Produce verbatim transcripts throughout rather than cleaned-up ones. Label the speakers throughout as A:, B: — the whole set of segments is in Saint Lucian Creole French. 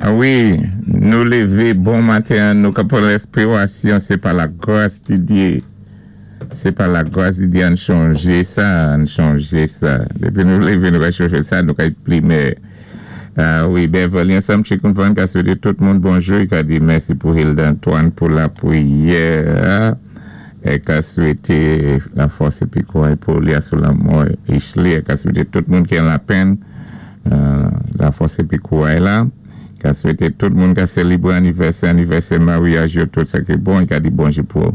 A: Ah wi, nou lévé bon maten, nou ka pwan lespirasyon, sé pa la gwas di Dye. Sé pa la gwas di Dye ann chanjé sa, ann chanjé sa. Dépi nou lévé nou ka chanjé sa, nou ka plimé. Ah wi, Beverly ansanm Chicken Van ka swété tout moun bonjou, i ka di mèsi pou Hilda Antoine pou la pwiyè. É ka swété la fòs épi kouway pou li sou lanmò Ishli, é ka swété tout moun ki an la pèn, la fòs épi kouway la. Ka swété tout moun ka sélébwé anivèsè, anivèsè maryaj yo, tout sa ki bon, i ka di bonjou pou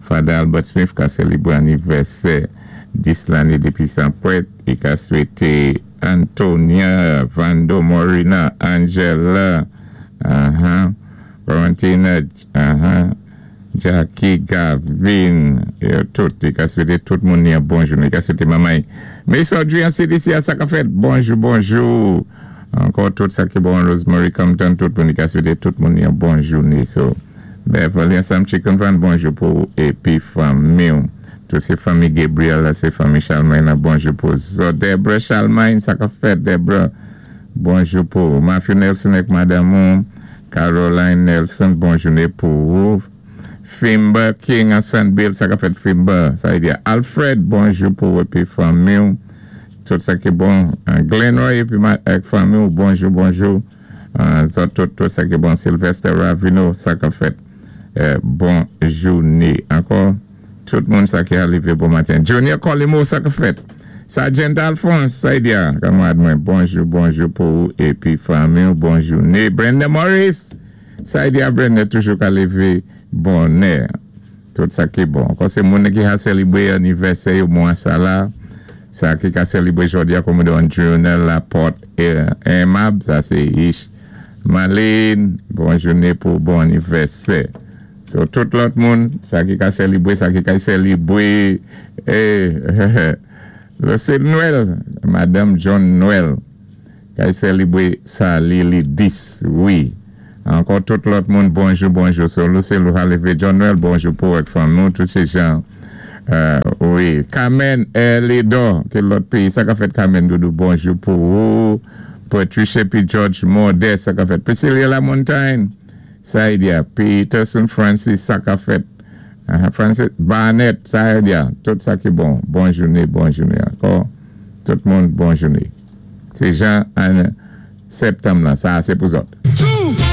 A: Father Albert Smith ka sélébwé anivèsè dis lanné dépi san pwèt, i ka swété Antonia, Vando Morina, Angela, uh-huh, Valentina, uh-huh, Jackie, Gavin, yo tout, i ka swété tout moun ni yon bonjou, i ka swété mamay. Mais aujourd'hui, en C D C a sa ka fèt, bonjou, bonjou. Ankò tout sa ki bon, Rosemary Compton, tout moun, i ka swété tout moun yon bon jouné. So, Beverly ansanm Chicken Van, bonjou pou épi fanmi. Tout sé fanmi Gabriel, la, sé fanmi Charlemagne, la, bonjou pou zo. Debra Charlemagne, sa ka fèt, Debra. Bonjou pou Matthew Nelson ek madame Caroline Nelson, bon jouné pou ou. Fimba King ansanm Bill, sa ka fèt Fimba, sa y di Alfred, bonjou pou épi fanmi. Tout sa ki bon. Glenn Roy épi ak fanmi, bonjou, bonjou. Tout, tout sa ki bon. Sylvester Ravino, sa ka fèt. Bon jouné. Ankò, tout moun sa ki arivé bon maten. Junior Colimo, sa ka fèt. Sergeant Alphonse, sa y di a, kanmarad mwen, bonjou, bonjou pou ou épi fanmi, bon jouné. Brenda Morris, sa y di a Brenda toujou ka lévé bonè. Tout sa ki bon. Ankò sé moun ki a sélébwé anivèsè yo mwa sa la. Sa ki ka sélébwé jòdi a kòm don Journal Laporte Aimable, sa sé Ish Malin, bon jouné pou bon anivèsè. So, tout lòt moun, sa ki ka sélébwé, sa ki ka sélébwé, eh, c'est Noël, Madame John Noël, ka sélébwé sa li li dis, wi. Ankò tout lòt moun, bonjou, bonjou. So, Lucille Louhalivé, John Noël, bonjou pou ak fanmi, tout sé jan. Euh, wi, Carmen Elido, ki lòt péyi, sa ka fèt Carmen Doudou, bonjou pou ou. Patricia P. George Modeste, sa ka fèt. Priscilla Lamontagne, sa y di a. Peterson Francis, sa ka fèt. Uh, Francis Barnett, sa y di a. Tout sa ki bon. Bon jouné, bon jouné ankò. Tout moun, bon jouné. Sé jan an septanm la, sa sé pou zòt.